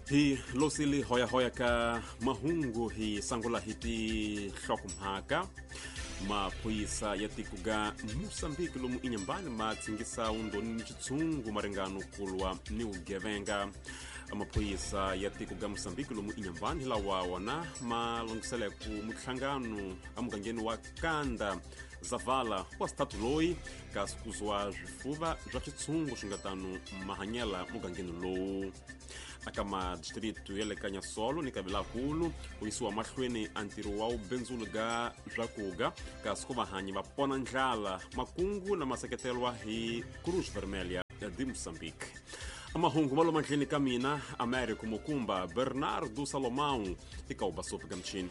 Hi losile hoyahoya ka mahungu hi sangula hi tinhlokomhaka. Maphorisa ya tiko ga Mosambiki lomu inyambani ma tsingisa undoni ni xitshungu maringano kulwa ni vugevenga. Maphorisa ya tiko ga Mosambiki lomu inyambani hi lawa wona ma lunghiseleku muhlangano emugangeni wa Kanda Zavala wa xitatu loyi kasi kuzwa swifuva swa xitshungu swi nga tano mahanyela mugangeni lowu. Aka madistritu ya le ka Nyasolo ni Kavilakulu ku yisiwa mahlweni a ntirho wa vubindzuli ga swakuga kasi ku vahanyi va pona ndlala makungu na maseketelwa hi Cruz Vermelha ya de Moçambique. Amahungu ma lo mandleni ka mina Américo Mukumba Bernardo Salomão eka Ubasopi ka Mchini.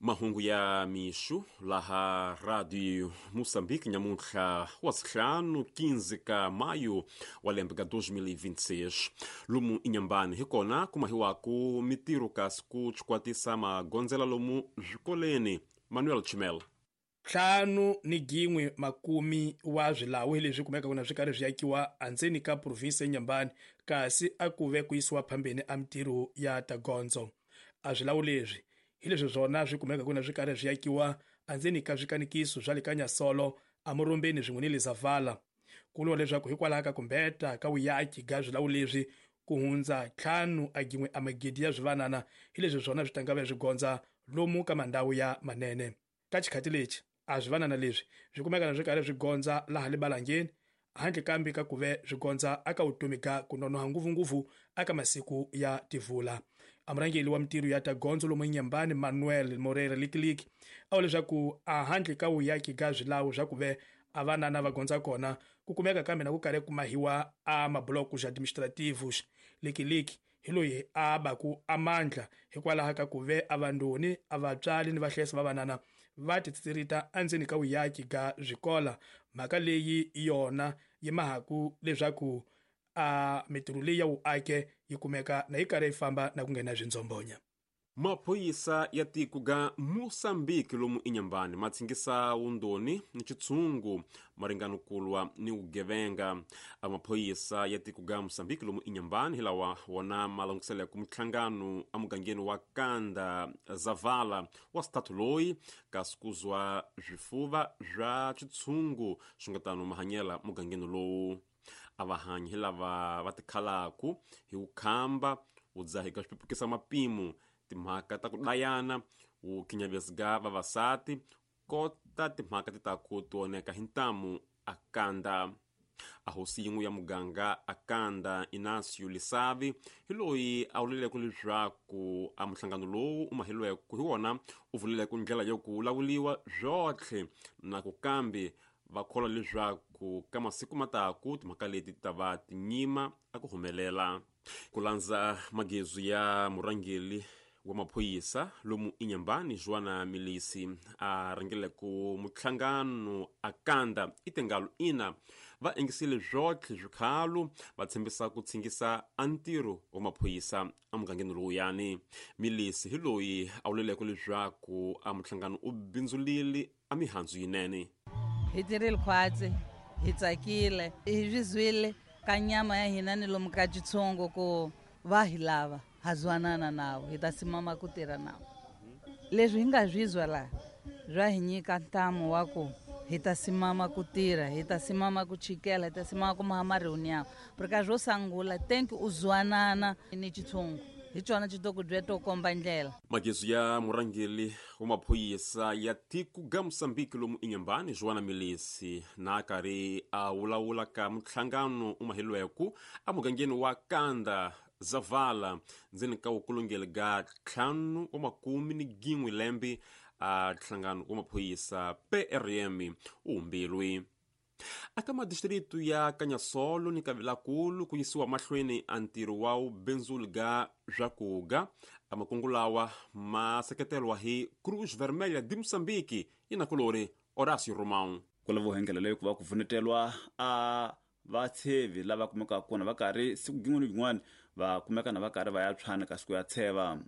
Mahungu ya mixo laha Radio Moçambique nyamuntlha wa sihlanu 15 ka maio wa lembe ka 2026. Lomu inyambani hi kona ku mahiwaku mitirho kasi ku chikwatisa magondzela lomu swikoleni. Manuel Chimel. 51 makumi wa swilawu leswi kumekaka na swi karhi swi yakiwa andzeni ka provinsi ya Nyambani, kasi a ku ve ku yisiwa phambeni a mitirho ya tagondzo. A swilawu leswi hi leswi swona swi kumekaka na swi karhi swi yakiwa andzeni ka swikanikiso swa le ka Nyasolo, Amurumbeni swin'we ni le Zavala. Ku vuriwa leswaku hikwalaho ka kumbeta ka vuyaki ga swilawu leswi ku hundza 5 a gin'we a magidi ya swivanana hi leswi swona swi tangave swi gondza lomu ka mandhawu ya manene. Ka xikhati lexi a swivanana leswi swi kumeka na swi karhi swi gondza laha le Balangeni, handle kambe ka ku ve swi gondza aka vutomi ga ku nonoha ngopfungopfu aka masiku ya tivula. A murhangeri wa mitirho ya tagondzo lomu Nyambani Manuel Moreira Likiliki a vula leswaku a handle ka vuyaki ga swilawu swa ku ve a vanana va gondza kona ku kumeka kambe na ku karhi ku mahiwa a mablocos administrativos. Likiliki hi loyi a baku amandla hikwalaho ka ku ve a vandoni a vatswari ni vahlayisi va vanana va titsirita endzeni ka vuyaki ga swikola. Mhaka leyi yona yi mahaku leswaku a mitirho leyi ya vuake yi kumeka na yi karhi yi famba na ku nghena swindzombonya. Maphorisa ya tiko ga Mosambiki lomu inyambani ma tsingisa wundoni ni xitshungu maringano kulwa ni vugevenga. Maphorisa ya tiko ga Mosambiki lomu inyambani hi lawa wona ma languseleku muhlangano emugangeni wa Kanda Zavala wa xitatu loyi kasi kuzwa swifuva swa xitshungu swi nga tano mahanyela mugangeni lowu. A vahanyi hi lava va tikhalaku hi vukhamba wu dzaheka swi mapimo timhaka ta ku dayana wu khinyavesiga vavasati kota timhaka ti ta ku tioneka hi ntamu akanda. A hosi yin'we ya muganga akanda Inacio Lisavi hi loyi a vuleleke leswaku a muhlangano lowu u mahilweke hi wona u vuleleke ndlela yo ku lawuliwa swotlhe na ku kambe va kholwa leswaku ka masiku mataku timhaka leti ta va tinyima a ku humelela. Ku landza magezu ya murhangeri wa maphorisa lomu inyambani Joana Milisi a rhangeleke muhlangano akanda itengalo ina va engisile swotlhe swikhalo va tshembisa ku tshingisa a ntirho wa maphorisa emugangeni lowuyani. Milisi hi loyi a vuleleke leswaku a muhlangano u bindzulile a mihandzu yinene. Hi tirhile khwatsi, hi tsakile, hi swi zwile ka nyama ya hina ni lomu ka xitshungu ku va hi lava ha zwanana nawo, hi ta simama ku tirha nawo. Leswi hi nga swi zwa laha swa hi nyika ntamu wa ku hi ta simama ku tirha, hi ta simama ku chikela, hi ta simama ku maha mariuniyawo. Porque swo sangula thank u zwanana ni xitshungu hi xona xi to ku bya to komba ndlela. Magezu ya murhangeri wa maphorisa ya tiko ga Mosambiki lomu inyambani Joana Milisi na karhi a vulavula ka muhlangano u mahilweku emugangeni wa Kanda Zavala ndzeni ka vukulungeli ga 51 lembe a nhlangano wa maphorisa PRM u humbilwe. Aka madistritu ya Kanyasolo ni Kavilakulu ku yisiwa mahlweni a ntirho wa vubindzuli ga swakuga. Amakungu lawa ma seketelwa hi Cruz Vermelha de Moçambique inakulori Horácio Romão. Ku lava vuhengela leyi ku va ku pfunetelwa a vatshevi lava kumekaka kona va karhi siku gin'wana ni gin'wana va kumeka na va karhi va ya tshwana kasi ku ya tsheva.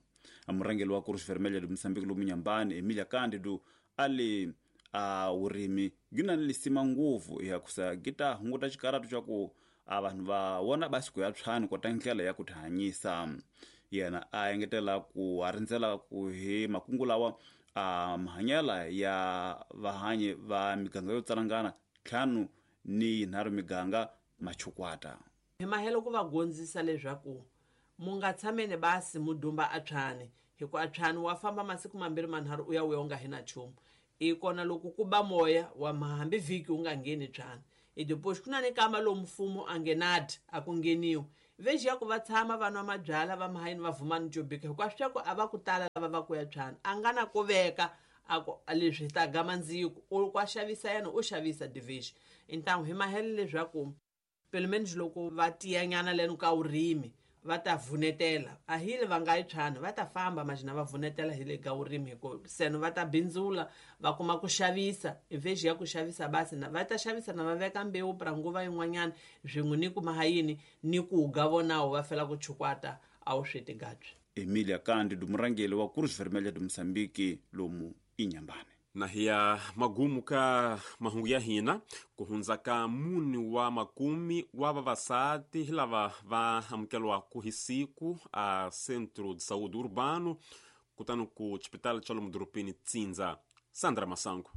Murhangeri wa Cruz Vermelha de Moçambique lomu Nyambani Emilia Cândido a le A vurimi gi na ni lisima ngopfu ya kusa gi ta hunguta xikaratu xa ku a vanhu va vona basi ku ya tshwani kota ndlela ya ku tihanyisa. Yena a engetela ku a rindzela ku hi makungu lawa a mahanyela ya vahanyi va miganga yo tsalangana 5 ni 3 miganga machukwata. Hi mahelo ku va gondzisa leswaku mu nga tshameni basi mu dumba a tshwani, hikuva a tshwani wa famba masiku mambirhi manharhu u ya u nga hi na nchumu. I kona loko ku ba moya wa hambi vhiki u nga ngheni tshwani. I depois ku na ni kama lomu mfumo a ngenadi a ku ngheniwi. Veji ya ku va tshama va nwa mabyala va mahayini va vuma ni jobika hikuva swi ku a va ku tala lava va ku ya tshwani a nga na ku veka a ku leswi hi ta gama ndziko u kwa xavisa yena u xavisa division. Então hi mahelo leswaku pelo menos loko va tiyanyana leno ka vurimi va ta vunetela a hi le va nga yi tshwani va ta famba majina va vunetela hi le ka vurimi hikuva seno va ta bindzula va kuma ku xavisa veji ya ku xavisa basi na va ta xavisa na va veka mbewu pra nguva yin'wanyana swin'we ni ku mahayini ni ku ga vonawo va fela ku chukwata a wu swi tigabyi. Emilia Kandi murangeli wa Cruz Vermelha de Moçambique lomu Inhambane. Na hiya magumu ka mahungu ya hina ku hundza ka mune wa makumi wa vavasati lava va amukelwaku hi siku a Centro de Saúde Urbano kutani ku xipitali xa lomu dorobeni Tsindza. Sandra Masango.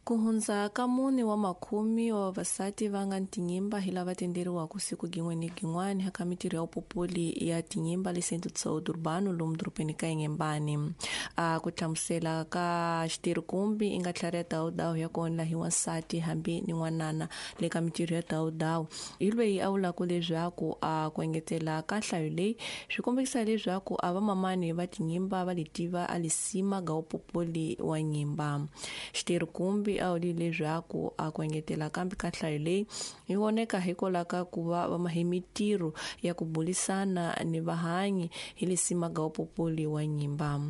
Ku hundza ka mune wa makumi wa vavasati va nga tinyimba hi lava tenderiwaka siku gin'we ni gin'wani eka mitirho ya vupopoli ya tinyimba le Centro de Saúde Urbano lomu dorobeni ka Inhambane. A ku hlamusela ka xitirhikumbi i nga tlhari ya dawudawu ya kona hi wansati hambi ni n'wanana le ka mitirho ya dawudawu. Hi lweyi a vulaka leswaku a ku engetela ka nhlayo leyi swi kombekisa leswaku a vamamani va tinyimba va letiva a lisima ga vupopoli wa nyimba. Xitirhikumbi a wuli leswaku a ku engetela kambe ka nhlayo leyi yi voneka hikwalaho ka ku va va mahe mitirho ya ku bulisana ni vahanyi hi lisima ga vupopoli wa nyimba.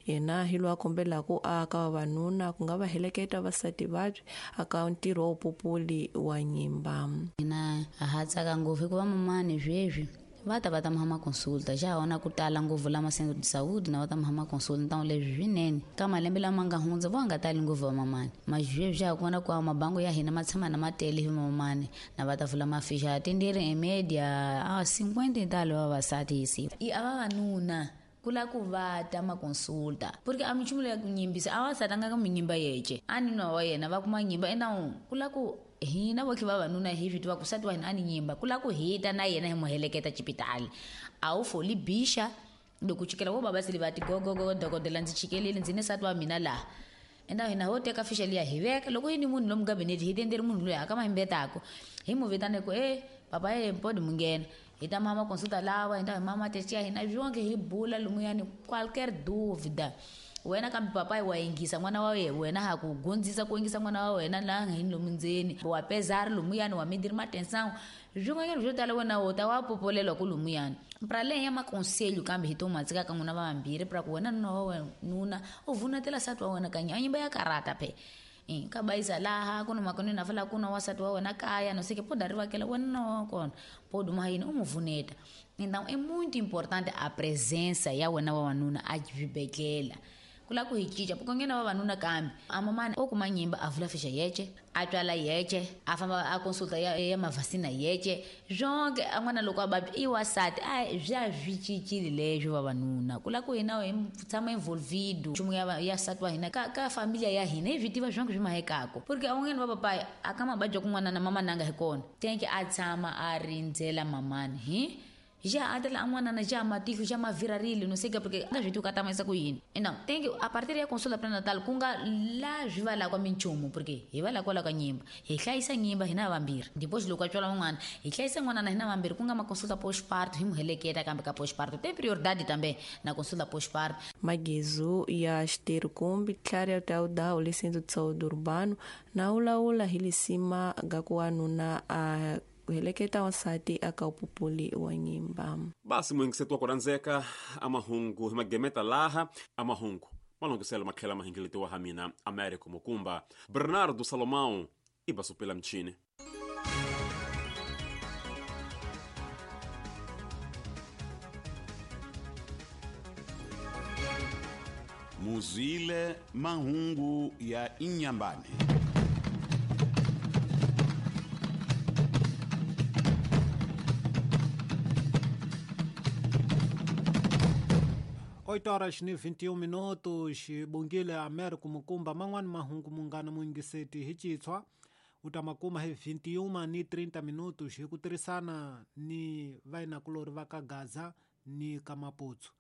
Yena hi loyi a kombelaka a ka vavanuna ku nga va heleketa vasati vabyi aka ntirho wa vupopoli wa nyimba. Hina ha tsaka ngopfu hikuva mamani sweswi va ta va ta mahama consulta xa hona ku tala ngopfu lama Centro de Saúde na va ta mahama consulta ntawu leswi swinene ka malembe lama nga hundza vo nga tali ngopfu va mamani mazweswi xa kona ku mabango ya hina ma tshama na matele hi mamani na va ta vula mafisha tendere em média a 50 talo vavasati hi siku i a vavanuna kula ku va ta ma consulta porque a minchumu leya ku nyimbisa a vasati a nga ka minyimba yece a ni nwa wa yena va kuma nyimba endawu kula ku hina votlhe vavanuna hi swi tiva ku sati wa hina a ni nyimba ku lava ku hita na yena hi mu heleketa xipitali a wu foli bixa loko chikela vo baba sili va ti gogogo dokodela ndzi chikelile ndzi ni sati wa mina laha enda hina ho teka fixa liya hi veka loko yi ni munhu lomu gabinete hi tenderi munhu loyi a ka mahimbetako hi mu vitane ku e papa e mpodi mu nghena hi ta mama consulta lawa hi ta hi mama testiya hina swonke hi bula lumuyani qualquer dúvida wena kambe papai wa yingisa n'wana wa wena ha ku gondzisa ku yingisa n'wana wa wena laha hi lomu ndzeni wa pezari lumuyani wa midiri matensangu swin'wanyana swo tala wena wo ta wa popolelwa ku lumuyani pra leyi ya makonselho kambe hi to matsika ka n'wina vambirhi pra ku wena nuna wa wena nuna u vunetela sati wa wena kanye a nyimba ya karata phe ka bayisa laha ku na makoneni a fala ku na wasati wa wena kaya no sei que pode arrivar aquela wena na wa kona pode uma yini u mu vuneta. Então é muito importante a presença ya wena wa wanuna a xibedhlele ku lava ku hi cinca porque nghena vavanuna kambe a mamani o kuma nyimba a vula fixa yece a twala yece a famba a consulta ya mavhasina yece swonke a n'wana loko a vabya i wasati a swa swi cincile leswo vavanuna ku lava ku hina hi tshama involvido nchumu ya sati wa hina ka familia ya hina hi swi tiva swonke swi mahekako porque a un'wana va papaya a ka mababya kun'wana na mama nanga hi kona tenke a tshama a rindzela mamani hi já atela an'wana já matihlo já mavirarile no sei que porque nga swi tivi ku a tamayisa ku yini então tem que a partir ya consulta pré-natal ku nga la swi va lakwa minchumu porque hi va lakwa la ka nyimba hi hlayisa nyimba hina vambirhi depois loko a tswala n'wana hi hlayisa n'wana na hina vambirhi ku nga ma consulta postparto hi mu heleketa kambe ka postparto tem prioridade também na consulta postparto. Magezu ya xitirhikumbi tlhari ya dawudawu le Centro de Saúde Urbano na wulawula hi lisima ga ku wanuna a heleketa wansati aka upupuli wa nyimba. Basi muingiseto wa ku rhandzeka amahungu hi magemeta laha amahungu malongiselo matlhela mahingeletiwa ha mina Americo Mukumba. Bernardo Salomão i basupela mchini. Muzwile mahungu ya Inhambane. Oito horas ni 21 minutos bongile Américo Mukumba man'wani mahungu munghana muyingiseti hi Xitswa u ta makuma hi 21 ni 30 minutos hi ku tirhisana ni vainakulori va ka Gaza ni ka Maputsu.